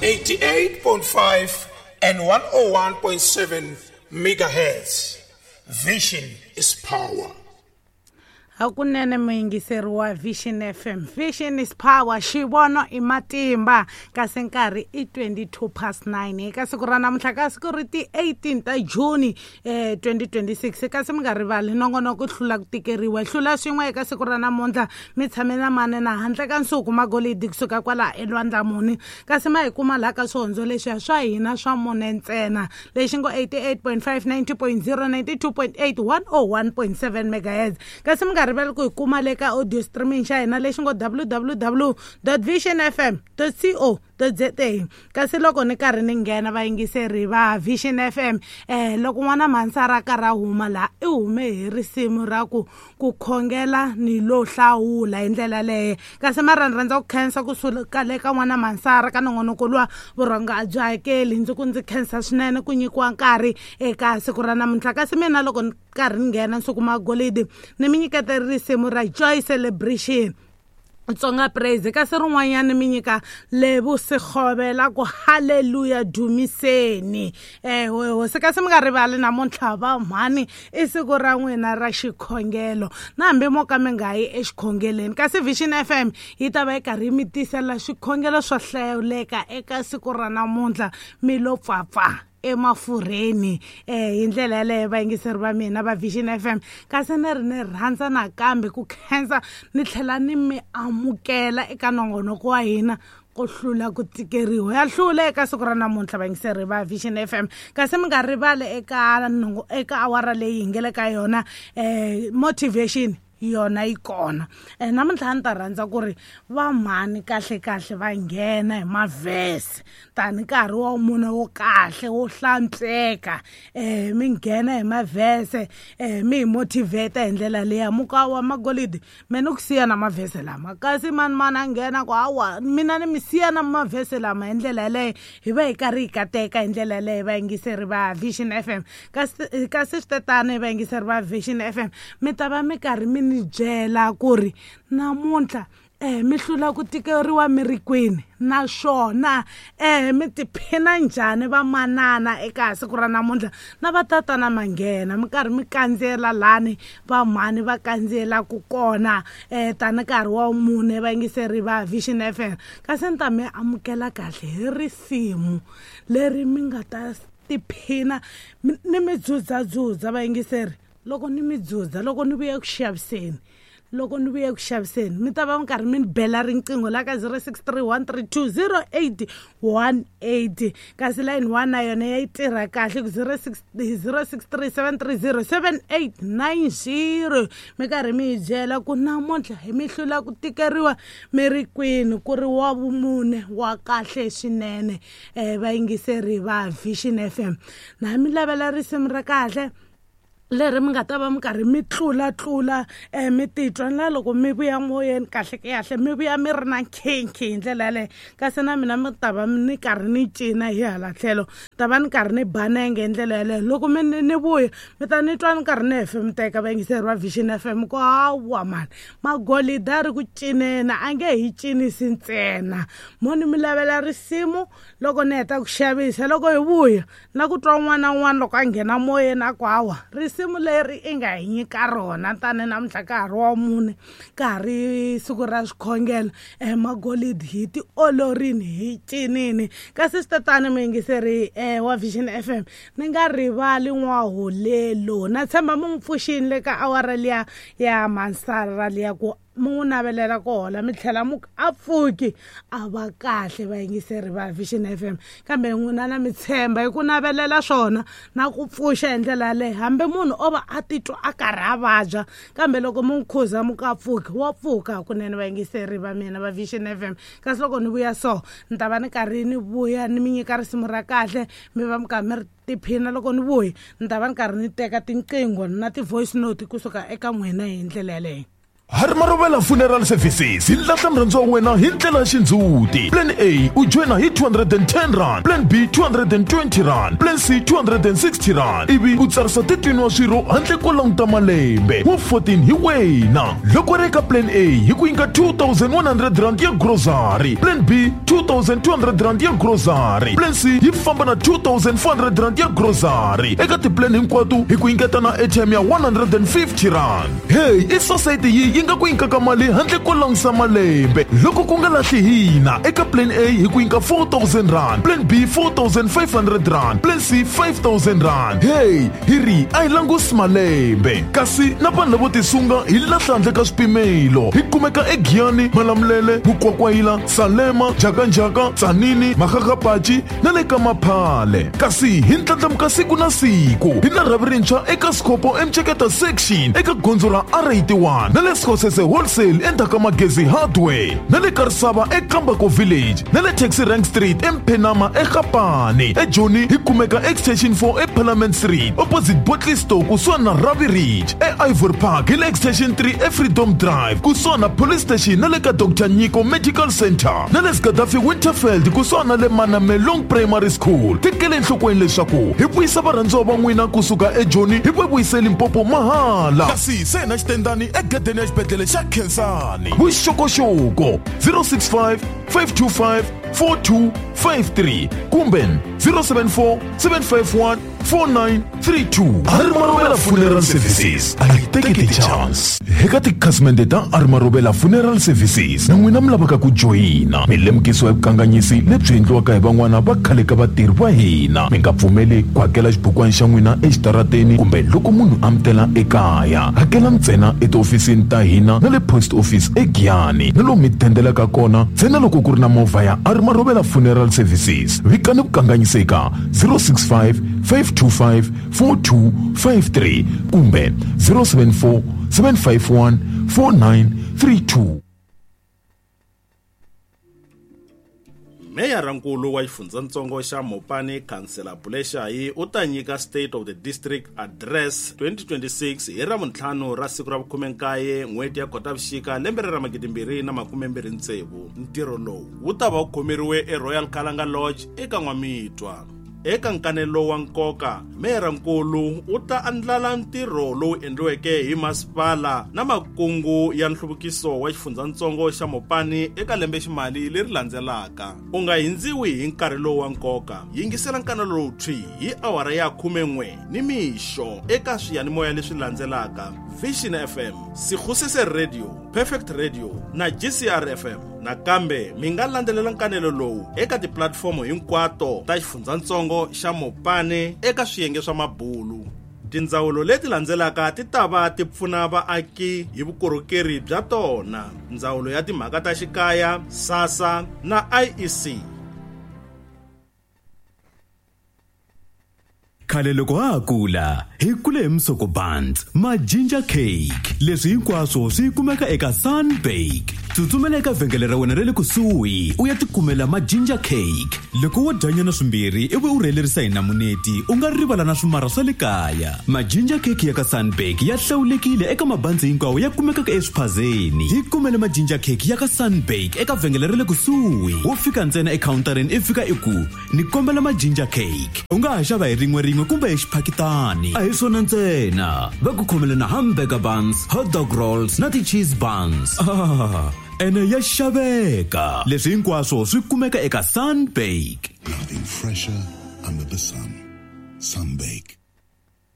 88.5 and 101.7 megahertz. Vision is power. Hakunene muyingiseri wa Vision FM, Vision is power, xivono i matimba. Kasi nkarhi i 22 past 9 eka siku ra namuntlha, ka siku ri ti 18 ta June 2026. Kasi mi nga rivali nongonoko hlula ku tikeriwa, hlula swin'we eka siku ra namuntlha. Mi tshame na mane na handle ka nsuku magolidi kusuka kwala elwandlamuni. Kasi ma hi kuma laha ka swihondzo leswiya swa hina swa mune ntsena, lexi ngo 88.5, 90.0, 92.8, 101.7 megahertz. Kasi mi nga rivali ku hi kuma le ka audio streaming xa hina lexi ngo www visionfm co za. Kasi loko ni karhi ni nghena, vayingiseri va Vision FM, loko n'wana mhansara a karhi a huma laha, i hume hi risimu ra ku khongela ni lo hlawula hi ndlela leyo. Kasi mara ni rhandza ku khensa kusuka le ka n'wana mhansara ka nongonoko luwa vurhonga a byi hakeli. Ndzi ku ndzi khensa swinene ku nyikiwa nkarhi eka siku ra namuntlha. Kasi mina loko ni karhi ni nghena nsuku magolidi, ni mi nyiketa risimu ra Joy Celebration Tsonga Praise. Kasi rin'wanyana mi nyika Levusigovela ku halleluya dumiseni hosi. Kasi mi nga rivali namuntlha va mhani i siku ra n'wina ra xikhongelo, na hambi mo ka mi nga yi exikhongeleni, kasi Vision FM yi ta va yi karhi yi mi tisela swikhongelo swo hlawuleka eka siku ra namuntlha, mi lo pfapfa emafurheni hi ndlela yaleyo, vayingiseri va mina va Vision FM. Kasi ni ri ni rhandza nakambe ku khensa ni tlhela ni mi amukela eka nongonoko wa hina ku hlula ku tikeriwa, ya hlula eka siku ra namuntlha, vayingiseri va Vision FM. Kasi mi nga rivali eka awara leyi hi nge le ka yona, motivation yona yi kona. Namuntlha a ni ta rhandza ku ri va mhani kahle kahle va nghena hi mavhese tani nkarhi wa mune wo kahle wo hlantsweka, mi nghena hi mavhese, mi hi motivate hi ndlela leya muka wa magolidi. Me ni ku siya na mavhese lama, kasi mani mani a nghena ku hawa mina ni mi siya na mavhese lama hi ndlela yaleyo, hi va hi karhi hi kateka hi ndlela yaleyo, vayingiseri va Vision FM. Kasi swi tetano, vayingiseri va Vision FM, mi ta va mi karhi mi ni byela ku ri namuntlha mi hlula ku tikeriwa mi ri kwini, naswona mi tiphina njhani vamanana eka siku ra namuntlha, na vatatana manghena mi karhi mi kandziyela lani vamhani va kandziyelaku kona, tani nkarhi wa mune, vayingiseri va Vision FM. Kasi ni ta mi amukela kahle hi risimu leri mi nga ta tiphina ni mi dzudzadzudza, vayingiseri. Loko ni mi dzudza, loko ni vuya ku xaviseni, loko ni vuya ku xaviseni, mi ta va mi karhi mi ni bela riqingho la ka 0631320818. Kasi line 1 na yona ya yi tirha kahle ku 06 063 730 7890. Mi karhi mi hi byela ku namuntlha hi mi hlula ku tikeriwa mi ri kwini, ku ri wa vumune wa kahle swinene, vayingiseri va Vision FM. Na mi lavela risimu ra kahle leri mi nga ta va mi karhi mi tlula tlula, mi titwa na loko mi vuya moyeni kahle kahle, mi vuya mi ri na nkhinkhi hi ndlela yaleyo. Kasi na mina mi ta va ni karhi ni cina hi hala tlhelo, ta va ni karhi ni banenge hi ndlela yaleyo. Loko mi ni vuya, mi ta ni twa ni karhi ni hefemuteka, vayingiseri va Vision FM, ku hawa mani magolida a ri ku cineni, a nge hi cinisi ntsena. Mo ni mi lavela risimu loko ni heta ku xavisa. Loko hi vuya na ku twa un'wana na un'wana loko a nghena moyeni a ku hawa risimu leri i nga hi nyika rona tani namuntlha ka ha ri wa mune, ka ha ri siku ra swikhongelo, magolidi hi tiolorini hi cinini. Kasi swi tatani, muyingiseri wa Vision FM, ni nga rivali n'waholelo, na tshemba mi n'wi pfuxini le ka awara liya ya mansara liya ku mi n'wi navelela ku hola, mi tlhela mu a pfuki a va kahle, vayingiseri va Vision FM. Kambe n'wina na mi tshemba hi ku navelela swona na ku pfuxa hi ndlela yaleyo, hambi munhu o va a titwa a karhi a vabya, kambe loko mi n'wi khuza mu ka pfuki, wa pfuka hakunene, vayingiseri va mina va Vision FM. Kasi loko ni vuya so, ni ta va ni karhi ni vuya ni mi nyika risimu ra kahle, mi va mi karhi mi ri tiphina. Loko ni vuya, ni ta va ni karhi ni teka tinqingho na ti-voice note kusuka eka n'wina hi ndlela yaleyo. Harimarovela Funeral Services hi lahla murhandziwa wa wena hi ndlela ya xindzhuti. Plan A u joyina hi 210 rand, Plan B 220 rand, Plan C 260 rand, ivi u tsarisa 13 wa swirho handle ko languta malembe wa 14 hi wena. Loko ri eka Plan A hi ku nyika 2100 rand ya grocery, Plan B 2200 rand ya grocery, Plan C yi famba na 2400 rand ya grocery. Eka tiplan hinkwato hi ku nyiketa na airtime ya 150 rand. Hey, i society yi nga ku nyikaka mali handle ko langusa malembe. Loko ku nga lahli hina eka Plan A hi ku nyika 4000 rand, Plan B 4500 rand, Plan C 5000 rand. Hey, hi ri a hi langusi malembe. Kasi na vanhu lavo tisunga hi lahla handle ka swipimelo. Hi kumeka eGiyani, Malamulele, Mukwakwayila, Salema, Jakanjaka, Tsanini, Makgakgapachi na le ka Maphale. Kasi hi ndlandlamuka siku na siku. Hi na rhavi rintshwa eka Skhopho eMceketa section eka gondzo ra R81 na le Skhosese Wholesale endzhaku ka Magezi Hardware na le Karisava eKambako Village na le Taxi Rank Street eMphenama eGapane. EJoni hi kumeka Extension 4 eParliament Street opposite Botley Store kusuhani na Ravi Ridge. E-Ivory Park hi le Extension 3 eFreedom Drive kusuhani na Police Station na le ka Dr Nyiko Medical Center na le Gaddafi Winterfeld kusuhani na le Manamelong Primary School. Tekele enhlokweni leswaku hi vuyisa varhandziwa va n'wina kusuka eJoni hi va vuyise Limpopo mahala. Kasi se na xitendani egedeni ya xibedhlele xa Khensani. Vuxokoxoko 065 525 4253 kumbe 074 751 4932. Harimarovela Funeral Services a yi teki ti-chance. Eka tikhasimende ta Harimarovela Funeral Services na n'wina mi lavaka ku joyina, mi lemukisiwa hi vukanganyisi lebyi endliwaka hi van'wana va khale ka vatirhi va hina. Mi nga pfumeli ku hakela xibukwana xa n'wina exitarateni kumbe loko munhu a mi tela ekaya. Hakela ntsena etihofisini ta hina na le post office eGiyani na lomu mi dendelaka kona ntsena loko ku ri na movha ya Harimarovela Funeral Services. Vikani vukanganyisi eka 065 525 4253 kumbe 074 751 4932. Meyarankulu wa xifundzatsongo xa Mopani Khansela Buleshayi u ta nyika State of the District Address 2026 hi Ravuntlhanu ra siku ra vu-19 n'hweti ya Khotavuxika lembe ra 2026. Ntirho lowu wu ta va wu khomeriwe eRoyal Kalanga Lodge eka N'wamitwa. Eka nkanelo wa nkoka, meyarankulu u ta andlala ntirho lowu endliweke hi masipala na makungu ya nhluvukiso wa xifundzatsongo xa Mopani eka lembeximali leri landzelaka. U nga hindziwi hi nkarhi lowu wa nkoka. Yingisela nkanelo lowu thwi hi awara ya 11 nimixo eka swiyanimoya leswi landzelaka: Vision FM, Sikhusese Radio, Perfect Radio na GCR FM. Nakambe mi nga landzelela nkanelo lowu eka tipulatifomo hinkwato ta xifundzatsongo xa Mopani eka swiyenge swa mabulu. Tindzawulo leti landzelaka ti ta va ti pfuna vaaki hi vukorhokeri bya tona: Ndzawulo ya Timhaka ta Xikaya, SASSA na IEC. Khale loko ha ha kula hi kule hi misoko buns, ma ginger cake. Leswi hinkwaswo swi kumeka eka Sunbake. Tsutsumela eka vhengele ra wena ra le kusuhi u ya tikumela ma ginger cake. Loko wo dyanyana swimbirhi ivi u rhelerisa hi namuneti, u nga rivala na swimara swa le kaya. Ma ginger cake ya ka Sunbake ya hlawulekile eka mabanzi hinkwawo ya kumekaka eswiphazeni. Hi kumele ma ginger cake ya ka Sunbake eka vhengele ra le kusuhi. Wo fika ntsena ekhawuntarini i fika i ku ni kombela ma ginger cake. U nga ha xava hi rin'we rin'we kumbe hi xiphakitani. A hi swona ntsena, va ku khomele na hamburger buns, hot dog rolls na ti-cheese buns. Ene ya xaveka. Leswi hinkwaswo swi kumeka eka Sunbake. Nothing fresher under the sun. Sunbake.